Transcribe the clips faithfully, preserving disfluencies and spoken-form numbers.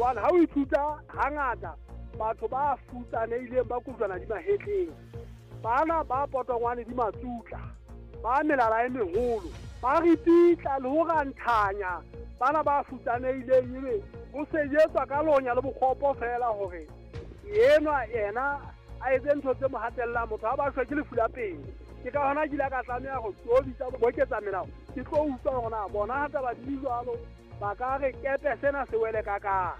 Hobane ha o ithuta hangata batho ba futsanehileng ba kujwana di mahetleng, bana ba potongwane di matsutla, ba melala e meholo, ba ripitla le ho ranthanya bana ba futsanehileng, ebe ho sejetswa ka lonya le bokgopo fela hore enwa yena a etse ntho tse mo hatellang. Motho ha ba shwe ke lefu la pele. Ke ka hona ke ile ka tlameha ho tobitsa boketsa melao, ke tlo utlwa hore na bona ha taba di jwalo ba ka re kepe sena se wele ka ka.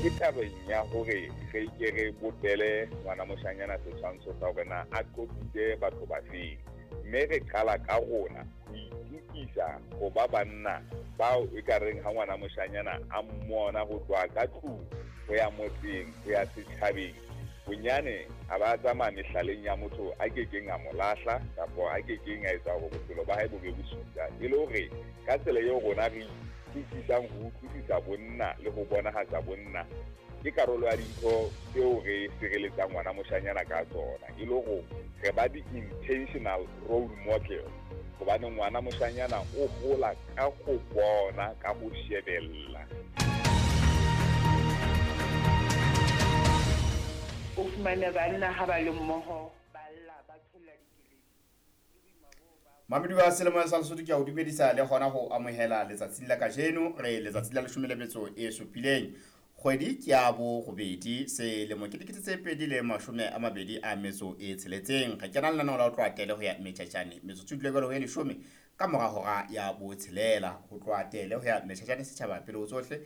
Ke tabeng ya hore re ke re bopele ngwana moshanyana setshwantsho sa hore na a qobile batho ba feng, mme re qala ka rona ho itukisa ho ba banna bao e ka reng ha ngwana moshanyana a mmona ho tloha ka tlung ho ya motseng ho ya setjhabeng, bonyane a ba tsamaya mehlaleng ya motho a kekeng a mo lahla kapa a kekeng a etsa hore bophelo ba hae bo be bosula. E le hore ka tsela eo rona re utlwisisang ho utlwisisa bonna le ho bonahatsa bonna ke karolo ya dintho tseo re sireletsang ngwana moshanyana ka tsona, e le hore re ba di-intentional role model, hobane ngwana moshanyana o hola ka ho bona, ka ho shebella. O fumane banna ha ba le mmoho ba lla ba tsholla dikeledi. Mamedi wa selemo sa Lesotho, ke a o dumedisa le hona ho amohela letsatsing la kajeno. Re letsatsing la leshome le metso e supileng, kgwedi ke ya borobedi, selemo ke dikete tse pedi le mashome a mabedi a metso e tsheletseng. Re kena lenaneo la ho tloha tele ho ya Metjhatjhane, metsotso e dule jwalo ho e leshome ka mora hora ya botshelela. Ho tloha tele ho ya Metjhatjhane setjhaba pele ho tsohle,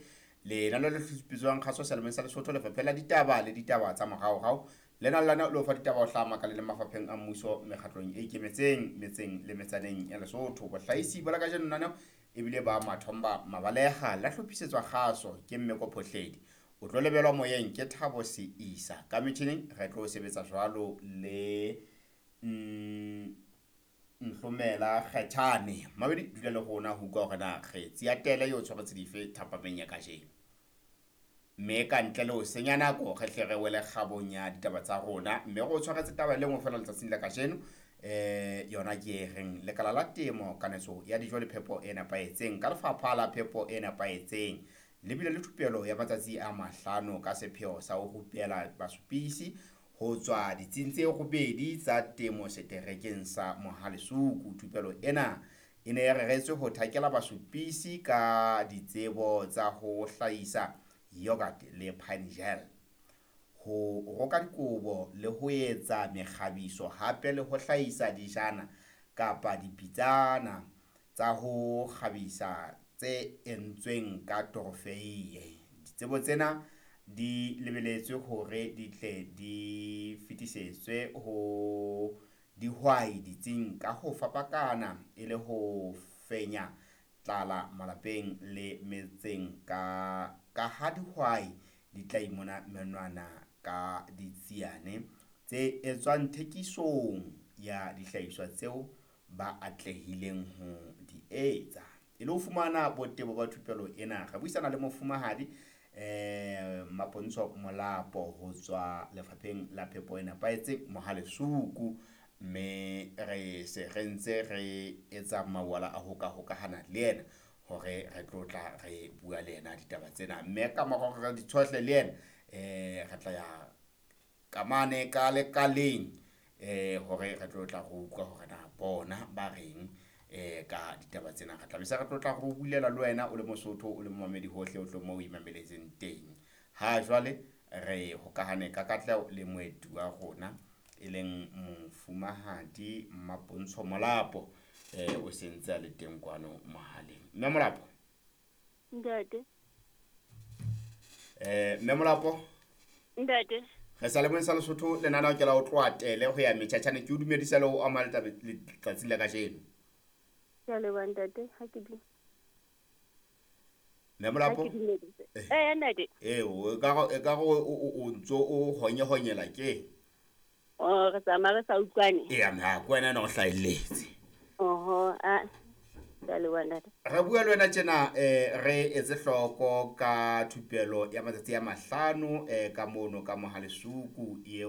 lenaneo le hlophisitsweng kgaso selemong sa Lesotho, Lefapha la Ditaba le Ditaba tsa Moraorao. Lena lena le fa ditaba ho hlaha makaleng le mafapheng a mmuso, mekgatlong e ikemetseng, metseng le metsaneng ya Lesotho. Bohlahisi ba la kajeno lenaneo ebile ba Mathomba Mabaleha, la hlophisetswa kgaso ke Mmeko Phohledi. O tlo lebelwa moyeng ke Thabo Seisa. Ka metjhining re tlo sebetsa jwalo le Nhlomela Kgethane. Mabedi dula le rona ho utlwa hore na kgetsi ya tele eo tshwaretse dife thapameng ya kajeno. Mme ka ntle le ho senya nako, re hle re wele kgabong ya ditaba tsa rona, mme re o tshwaretse taba e le nngwe feela letsatsing la kajeno. Eh yona ke e reng lekala la temo, kanetso ya dijo le phepo e nepahetseng ka lefapha la phepo e nepahetseng le bile le thupelo ya matsatsi a mahlano ka sepheo sa ho rupela basupisi ho tswa ditsing tse robedi tsa temo seterekeng sa Mohalesuku. Thupelo ena e ne e reretswe ho thakela basupisi ka ditsebo tsa ho hlahisa yogurt le pine gel, ho roka dikobo le ho etsa mekgabiso, hape le ho hlahisa dijana kapa dipitsana tsa ho kgabisa tse entsweng ka torofeiye. Ditsebo tsena di lebeletswe hore di tle di fetisetswe ho dihwai ditsing ka ho fapakana e le ho fenya tlala malapeng le metseng, ka ka ha dihwai di tla imona menwana ka ditsiane tse etswang thekisong ya dihlahiswa tseo ba atlehileng ho di etsa. E le ho fumana botebo ba thupelo ena, re buisana le mofumahadi eh Mapontsho Molapo ho tswa lefapheng la phepo e nepahetseng Mohalesuku, mme re se re ntse re etsa mawala a ho ka hokahana le yena hore re tlo tla re bua le yena ditaba tsena. Mme ka mora hore re di tshohle le yena, eh re tla ya kamane ka lekaleng eh hore re tlo tla re utlwa hore na bona ba reng eh ka ditaba tsena. Re tla be se re tlo tla re bulela le wena o le Mosotho, o le momamedi hohle o tlo mo o imameletseng teng. Ha jwale re hokahane ka katleho le moeti wa rona e leng mofumahadi Mapontsho Molapo, eh o sentse a le teng kwano mohaleng. Mme Molapo. Ntate. Eh Mme Molapo. Ntate. Re sa le mong sa Lesotho lenaneo ke la ho tloha tele ho ya Metjhatjhane. Ke o dumedisa le ho ama letsatsi la kajeno. Ke a leboha ntate, ha ke di. Mme Molapo. Eh ntate. Eh o ka e ka o o ntso o honyehonyela ke. Oh re tsamaya re sa utlwane. Ee, mme ha ke wena ena o hlahelletse. Oho, a ke a leboha ntate. Re bua le wena tjena, eh re etse hloko ka thupelo ya matsatsi a mahlano eh ka mono ka Mohalesuku eo